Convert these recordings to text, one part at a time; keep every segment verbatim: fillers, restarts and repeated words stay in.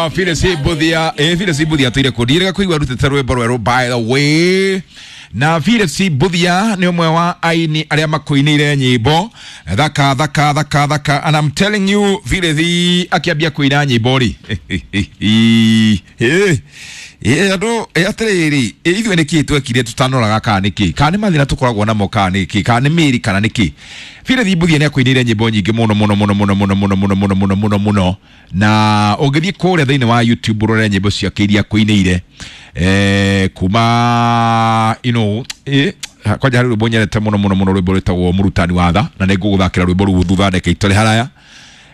Ah, Phyllis Mbuthia, eh Phyllis Mbuthia tuire kundire kuigua rutite rwimbo rweru, by the way. Na Phyllis Mbuthia ni umwe wa aini aria makuinire nyimbo thaka thaka thaka thaka, and I'm telling you, Phyllis akiambia kuina nyimbo ri, eh eh andu atiriri, ithuĩ nĩkĩ twekire tutanoraga, kana nĩkĩ, kana nĩ mathĩna tũkoragwo namo, kana nĩkĩ, kana nĩ mĩri, kana nĩkĩ? Phyllis Mbuthia nĩ akuinĩire nyĩmbo nyingĩ mũno mũno mũno mũno mũno mũno mũno mũno mũno mũno mũno, na ũngĩthiĩ kũrĩa thĩinĩ wa YouTube ũrore nyĩmbo ciake iria akuinĩire, eh kuma you know eh kwanja harĩ rwĩmbo nyendete mũno mũno mũno, rwĩmbo rwĩtagwo Mũrutani wa Tha, na nĩ ngũgũthakĩra rwĩmbo rũu thutha ndeke itore haraya.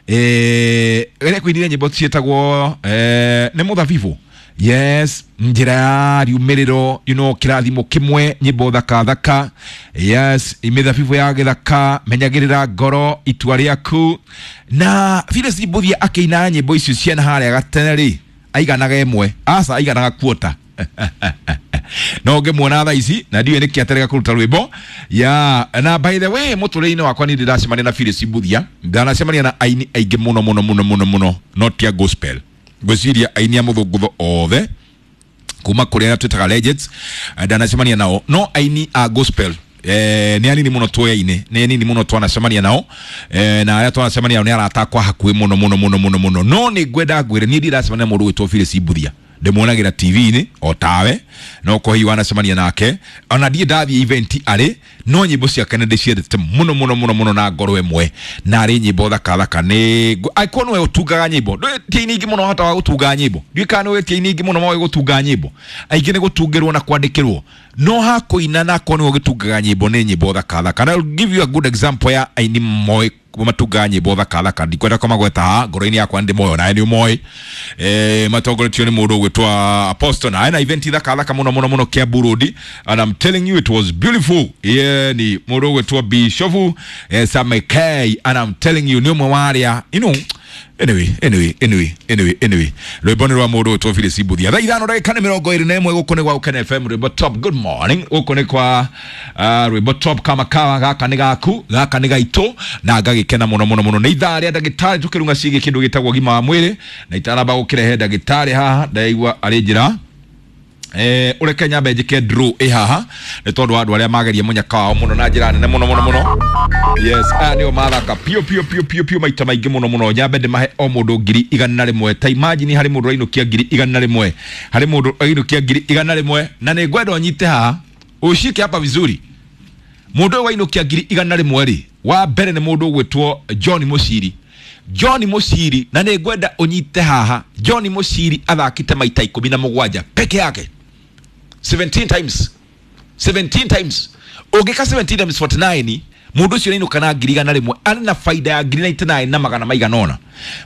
eh ĩrĩa kuinire nyĩmbo ciĩtagwo eh nĩ Mũthabibũ, yes, Njĩra ya Riumĩrĩro, you know Kĩrathimo Kĩmwe, nyĩmbo thaka thaka, yes, Mĩthabibũ ya Gĩthaka, Menyagĩrĩra Ngoro, Itua Rĩaku. Na Phyllis Mbuthia akĩina nyĩmbo icio ciana harĩa gatene rĩ, aiganaga ĩmwe, aca, aiganaga kuota, no ngĩmuona thaa ici na ndiũĩ nĩkĩ aterega kũruta rwĩmbo ya. Na by the way, mũtũrĩre-inĩ wakwa niĩ ndĩracemania na Phyllis Mbuthia, ndanacemania na aini aingĩ mũno mũno mũno mũno mũno, no ti a gospel. Ngwĩciria aini a mũthũngũtho othe kuma kũrĩa twĩtaga legends ndanacemania nao, no aini a gospel eh, nĩ anini mũno tuoyaine, nĩ anini mũno twanacemania nao, eh, na arĩa twanacemania nao nĩ arata akwa hakuhĩ mũno mũno mũno mũno mũno. No nĩ ngwenda ngwĩre, niĩ ndiracemania na mũndũ gwĩtwo Phyllis Mbuthia, ndĩmuonagĩra T V-inĩ o tawe, no ko hihi wanacemania nake, ona ndiĩ ndathiĩ event arĩ, no nyĩmbo ciake nĩ ndĩciendete mũno mũno mũno mũno na ngoro ĩmwe, na arĩ nyĩmbo thaka thaka. Nĩ angĩkorwo nĩwe ũtungaga nyĩmbo, ndũĩ ti aini aingĩ mũno hotaga gũtunga nyĩmbo, ndiũĩ kana nĩũĩ ti aini aingĩ mũno moĩ gũtunga nyĩmbo, aingĩ nĩ gũtungĩrwo na kwandĩkĩrwo, no hakũina na akorwo nĩwe ũgĩtungaga nyĩmbo, nĩ nyĩmbo thaka thaka. Na I'll give you a good example ya aini moĩ matungaga nyĩmbo thaka thaka, ndikwenda kũmagweta haha, ngoro-inĩ yakwa nĩ ndĩmoĩ, onawe nĩ ũmoĩ, eh, matongoretio nĩ mũndũ ũgwĩtwo Apostle, na ena event thaka thaka mũno mũno mũno Kiambu Road, and I'm telling you, it was beautiful. Yeah, ni mũndũ ũgwĩtwo Bishop eh, Samekei, and I'm telling you, nĩ ũmwe wa arĩa you know anyway anyway anyway anyway anyway rwĩmbo nĩ rwa mũndũ ũgwĩtwo Phyllis Mbuthia. Thaa ithano ndagĩka nĩ mĩrongo ĩrĩ na ĩmwe, gũkũ nĩ gwa Gũkena F M, rwĩmbo top. Good morning, gũkũ nĩ kwa uh, rwĩmbo top kama kawa. Gaka nĩ gaku, gaka nĩ gaitũ, na ngagĩkena mũno mũno mũno. Nĩ ithaa rĩa ndagĩtarĩ, tũkĩrunga ciĩgiĩ kĩndũ gĩtagwo ũgima wa mwĩrĩ, na itanamba gũkĩrehe ndagĩtarĩ haha, ndaigua arĩ njĩra, eh ureke nyambe njike draw ĩ haha, nĩ tondũ wa andũ arĩa mageria mũnyaka wao mũno na njĩra nene mũno mũno mũno. Yes, aya nĩo mathaka piũ piũ piũ piũ piũ maita maingĩ mũno mũno. Nyambe ndĩmahe o mũndũ ngiri igana rĩmwe. Ta imagine, harĩ mũndũ ũrainũkia ngiri igana rĩmwe, harĩ mũndũ ũrainũkia ngiri igana rĩmwe, na nĩ ngwenda ũnyite haha, ushike hapa vizuri. Mũndũ ũyũ wainũkia ngiri igana rĩmwe rĩ, wa mbere nĩ mũndũ ũgwĩtwo John Mũciri, John Mũciri, na nĩ ngwenda ũnyite haha. John Mũciri athakĩte maita ikũmi na mũgwanja peke yake, seventeen times, seventeen times. Ũngĩka seventeen times forty-nine, mũndũ ũcio nĩainũka na ngiri igana rĩmwe, arĩ na baida ya ngiri ninety-nine na magana maigana ũna.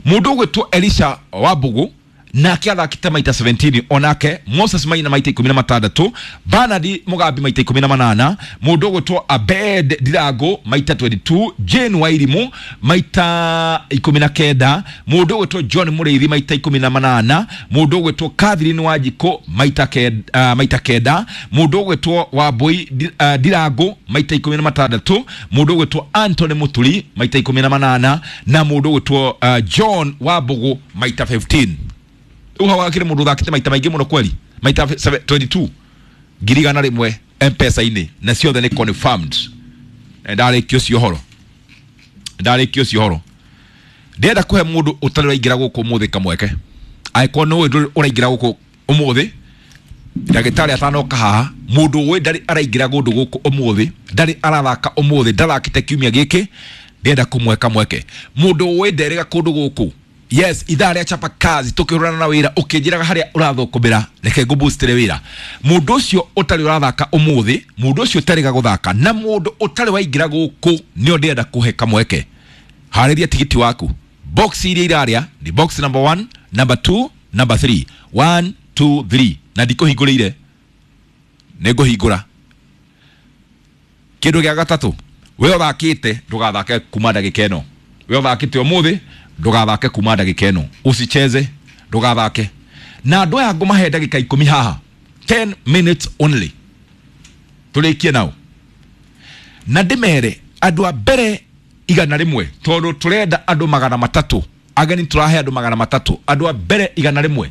Mũndũ ũgwĩtwo Elisha Wambugu nake athakĩte maita seventeen onake, Moses Maina maita ikũmi na matandatũ, Bernard Mugambi maita ikũmi na manana, mũndũ ũgwĩtwo Abed Ndirango maita twenty-two, Jane Wairimu maita ikũmi na kenda, mũndũ ũgwĩtwo John Mũrĩithi maita ikũmi na manana, mũndũ ũgwĩtwo Catherine Wanjikũ maita kenda, uh, maita kenda, mũndũ ũgwĩtwo Wambui uh, Ndirango maita ikũmi na matandatũ, mũndũ ũgwĩtwo Anthony Muturi maita ikũmi na manana, na mũndũ ũgwĩtwo uh, John Wambugu maita fifteen. Rĩu hau hakĩrĩ mũndũ ũthakĩte maita maingĩ mũno kweli, maita twenty-two, ngiri igana rĩmwe M-Pesa-inĩ, na ciothe nĩ confirmed. Ndarĩkia ũcio ũhoro, ndarĩkia ũcio ũhoro, ndĩrenda kũhe mũndũ ũtarĩ ũraingĩra gũkũ ũmũthĩ kamweke. Angĩkorwo nĩ ũĩ ũraingĩra gũkũ ũmũthĩ, ndagĩtarĩ atanoka haha, mũndũ ũĩ ndarĩ araingĩra kũndũ gũkũ ũmũthĩ, ndarĩ arathaka ũmũthĩ, ndathakĩte kiumia gĩkĩ, ndĩrenda kũmwe kamweke. Mũndũ ũĩ nderĩga kũndũ gũkũ, yes, ithaa rĩa chapa kazi tukĩhũrana na wĩra, ũkĩnjĩraga harĩa ũrathũkũmĩra, reke ngũboostere wĩra. Mũndũ ũcio ũtarĩ ũrathaka ũmũthĩ, mũndũ ũcio ũtarĩga gũthaka, na mũndũ ũtarĩ waingĩra gũkũ, nĩo ndĩrenda kũhe kamweke. Harĩria tigiti waku. Box iria irarĩa ni box number one, number two, number three, one, two, three, na ndikũhingũrĩire, nĩ ngũhingũra kĩndũ gĩa gatatũ. We ũthakĩte, ndũgathake kuma ndagĩka ĩno. We ũthakĩte ũmũthĩ, ndũgathake kuma ndagĩka ĩno, usicheze, ndũgathake. Na andũ aya ngũmahe ndagĩka ikũmi haha, ten minutes only, tũrĩkie nao, na ndĩmere andũ a mbere igana rĩmwe, tondũ tũrenda andũ magana matatũ. Ageni tũrahe andũ magana matatũ, andũ a mbere igana rĩmwe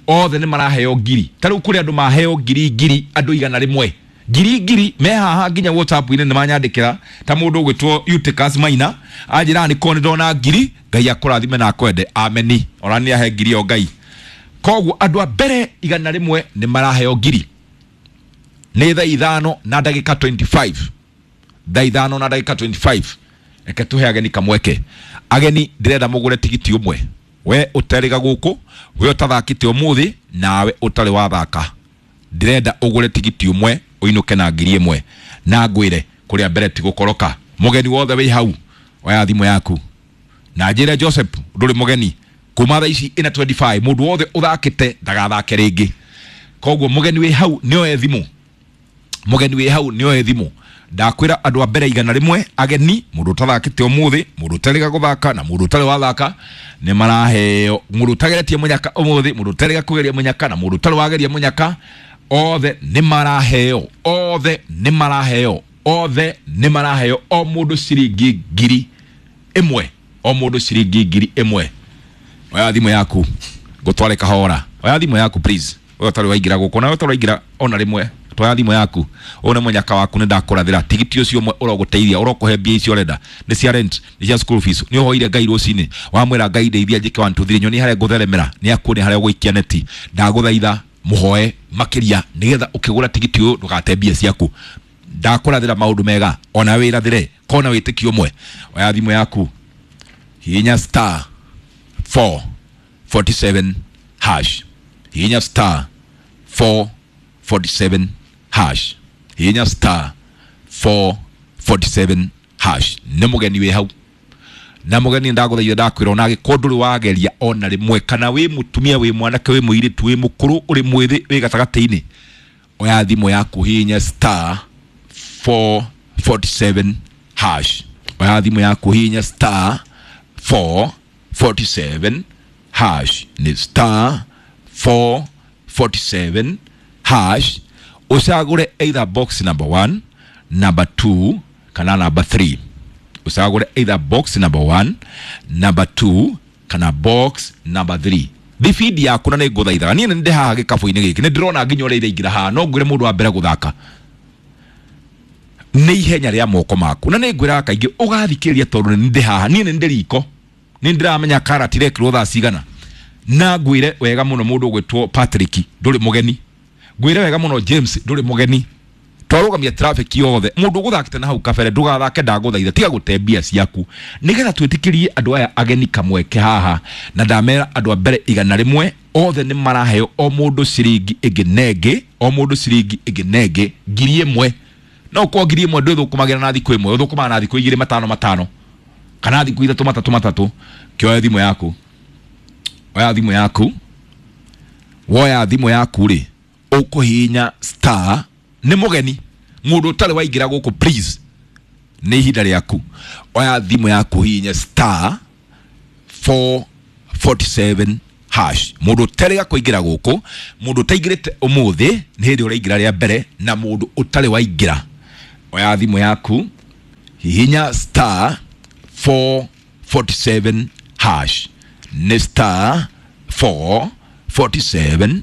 othe nĩ maraheo ngiri. Ta rĩu kũrĩ andũ maheo ngiri ngiri, andũ igana rĩmwe ngiri ngiri me haha nginya WhatsApp-inĩ nĩ manyandĩkĩra, ta mũndũ ũgwĩtwo Eutychus Maina anjĩra nĩ korwo nĩ ndona ngiri, Ngai akũrathime na akwende, ameni. Ona nĩ ahe ngiri o Ngai. Koguo andũ a mbere igana rĩmwe nĩ maraheo ngiri. Nĩ thaa ithano na ndagĩka twenty-five, thaa ithano na ndagĩka twenty-five. Reke tũhe ageni kamweke. Ageni ndĩrenda mũgũre tigiti ũmwe, we ũterĩga gũkũ, we ũtathakĩte ũmũthĩ, nawe ũtarĩ wathaka, ndĩrenda ũgũre tigiti ũmwe ũinũke na ngiri ĩmwe. Na ngwĩre kũrĩa mbere ti gũkoroka. Mũgeni wothe wĩ hau, oya thimũ yaku na njĩre Joseph ndũrĩ mũgeni kuma thaa ici ĩna twenty-five, mũndũ wothe ũthakĩte ndagathake rĩngĩ. Koguo mũgeni wĩ hau nĩoe thimũ, mũgeni wĩ hau nĩoe thimũ. Ndakwĩra andũ a mbere igana rĩmwe ageni, mũndũ ũtathakĩte ũmũthĩ, mũndũ ũtarĩga gũthaka na mũndũ ũtarĩ wathaka nĩ maraheo, mũndũ ũtageretie mũnyaka ũmũthĩ, mũndũ ũtarĩga kũgeria mũnyaka na mũndũ ũtarĩ wageria mũnyaka, othe nĩ maraheo, othe nĩ maraheo, othe nĩ maraheo, o mũndũ ciringi ngiri ĩmwe, o mũndũ ciringi ngiri ĩmwe. Oya thimũ yaku ngũtware kahora, oya thimũ yaku please, we ũtarĩ waingĩra gũkũ na we ũtarĩ waingĩra ona rĩmwe, twoya thimũ yaku, ũyũ nĩ mũnyaka waku, nĩ ndakũrathĩra tigiti ũcio ũmwe ũrogũteithia, ũrokũhe mbia icio ũrenda, nĩ cia rent, nĩ cia school fees, nĩ ũhoire Ngai rũcinĩ wamwĩra Ngai ndeithia njĩke one two three, nyonie harĩa ngũtheremera, nĩ akuonia harĩa ũgũikia neti. Ndagũthaitha mũhoe makĩria nĩgetha ũkĩgũra tigiti ũyũ ndũgate mbia ciaku. Ndakũrathĩra maũndũ mega, ona wĩrathĩre kona wĩtĩkio ũmwe. Oya thimũ yaku, hihinya star four forty-seven hash, hihinya star four forty-seven hash, hihinya star four forty-seven hash. Nĩ mũgeni wĩ hau na mũgeni ndagũthaitha, ndakwĩra ona angĩkorwo ndũrĩ wageria ona rĩmwe, kana wĩ mũtumia, wĩ mwanake, wĩ mũirĩtu, wĩ mũkũrũ, ũrĩ mwĩthĩ, wĩ gatagatĩ-inĩ, oya thimũ yaku, hihinya star four forty-seven hash, oya thimũ yaku, hihinya star four forty-seven hash, nĩ star four forty-seven hash, ũcagũre either box number one, number two kana number three. Ũcagũre either box number one, number two kana box number three. Thibindi yaku na nĩ ngũthaithaga, niĩ nĩ ndĩ haha gĩkabũ-inĩ gĩkĩ, nĩ ndĩrona nginya ũrĩa iraingĩra haha, no ngwĩre mũndũ wa mbere gũthaka nĩ ihenya rĩa moko maku, na nĩ ngwĩraga kaingĩ ũgathikĩrĩria tondũ nĩ ndĩ haha, niĩ nĩ ndĩ riko, nĩ ndĩramenya karati irekĩrwo thaa cigana. Na ngwĩre wega mũno mũndũ ũgwĩtwo Patrick ndũrĩ mũgeni, ngwĩre wega mũno James ndũrĩ mũgeni, twarũgamia traffic yothe, mũndũ ũgũthakĩte na hau kabere ndũgathake, ndagũthaitha, tiga gũte mbia ciaku nĩgetha twĩtĩkĩrie andũ aya ageni kamweke haha. Na ndamera andũ a mbere igana rĩmwe othe nĩ maraheo o mũndũ ciringi ĩngĩ na ĩngĩ, o mũndũ ciringi ĩngĩ na ĩngĩ ngiri ĩmwe. No ũkorwo ngiri ĩmwe ndwĩthũkũmagĩra na thikũ ĩmwe, ũthũkũmaga na thikũ igĩrĩ matano matano kana thikũ ithatũ matatũ matatũ. Kĩoya thimũ yaku, oya thimũ yaku, woya thimũ yaku rĩ, ũkũhihinya star. Nĩ mũgeni, mũndũ ũtarĩ waingĩra gũkũ please, nĩ ihinda rĩaku. Oya thimũ yaku, hihinya star four forty-seven hash. Mũndũ ũtarĩ kũingĩra gũkũ, mũndũ ũtaingĩrĩte ũmũthĩ nĩ hĩndĩ ũraingĩra rĩa mbere, na mũndũ ũtarĩ waingĩra, oya thimũ yaku, hihinya star four forty-seven hash, nĩ star four forty-seven